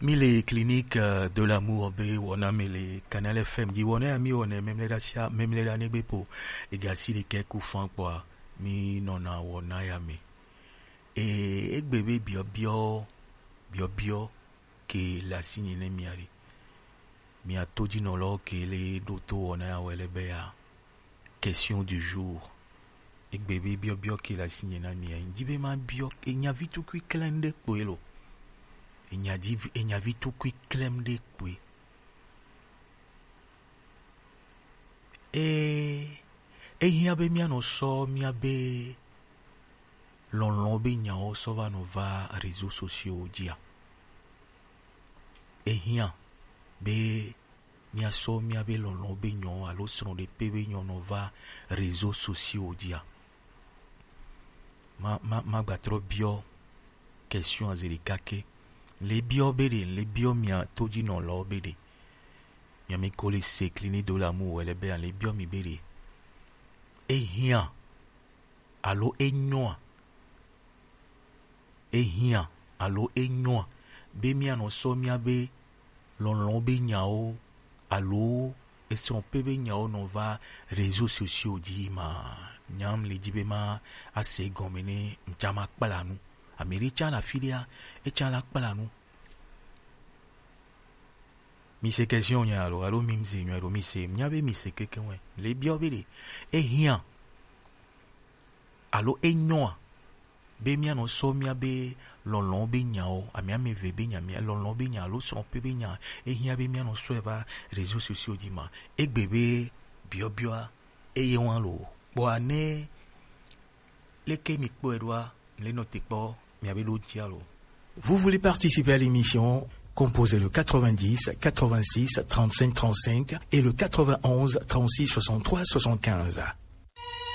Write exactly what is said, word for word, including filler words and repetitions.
Mi le Clinique, euh, de l'amour be wɔna mi le Canal F M dzi. Wɔna ya mi wɔnɛ memlɛɖa sia memlɛɖa ne gbe po. Ega si ɖekɛ ku fan kpɔa, mi nɔna wɔna ya me. E, egbe be biɔbiɔ, biɔbiɔ ke le asi nye ne mia ɖe. Mia to dzi nɔlɔ ke le ɖo to wɔna ya wɛ le be ya. Question du jour. Egbe be biɔbiɔ ke le asi nye na mia. Dzi be ma biɔ, enya vi tukui klem ɖe kpoe lo. Enya dzi, enya vi tukui klem ɖe kpoe. E, ehiã be mianɔ sɔ miabe lɔlɔ̃ be nyawo sɔ va nɔ va réseaux sociaux dzia? Ehiã be miasɔ miabe lɔlɔ̃ be nyɔ alo srɔ̃ɖeƒe be nyɔ nɔ va réseaux sociaux dzia? Ma, ma, ma gbatrɔ biɔ question azi ɖeka ke. Le biɔ be ɖe, le biɔ mia to dzi nɔlawo be ɖe. Mia mi ko le se Clinique de l'amour wɛ le be le biɔ mi be ɖe. Ehiã alo enyɔa? Ehiã alo enyɔa be mianɔ sɔ miabe lɔlɔ̃ be nyawo alo esrɔ̃ pe be nyawo nɔ va réseaux sociaux dzi ma? Nyam le dzi be ma ase gɔme ne ŋtsa ma kpla nu. Ame ɖe tsa le afi ɖea, etsa la kpla nu. Mi se question nya alo, alo mi mze nya alo mi se, nya be mi se keke wɛ. Le biɔ be ɖe, ehiã alo enyɔa be mianɔ sɔ miabe lɔlɔ̃ be nyawo, ame ame eve be nya, mia lɔlɔ̃ be nya alo srɔ̃ pe be nya, ehiã be mianɔ sɔe va réseaux sociaux dzi ma? Egbe be biɔbiɔa eye wa lo. Kpɔa ne leke mi kpɔe ɖoa, le nɔ te kpɔ miabe ɖo dzi alo. Vous voulez participer à l'émission? Composez le quatre-vingt-dix, quatre-vingt-six, trente-cinq, trente-cinq et le quatre-vingt-onze, trente-six, soixante-trois, soixante-quinze.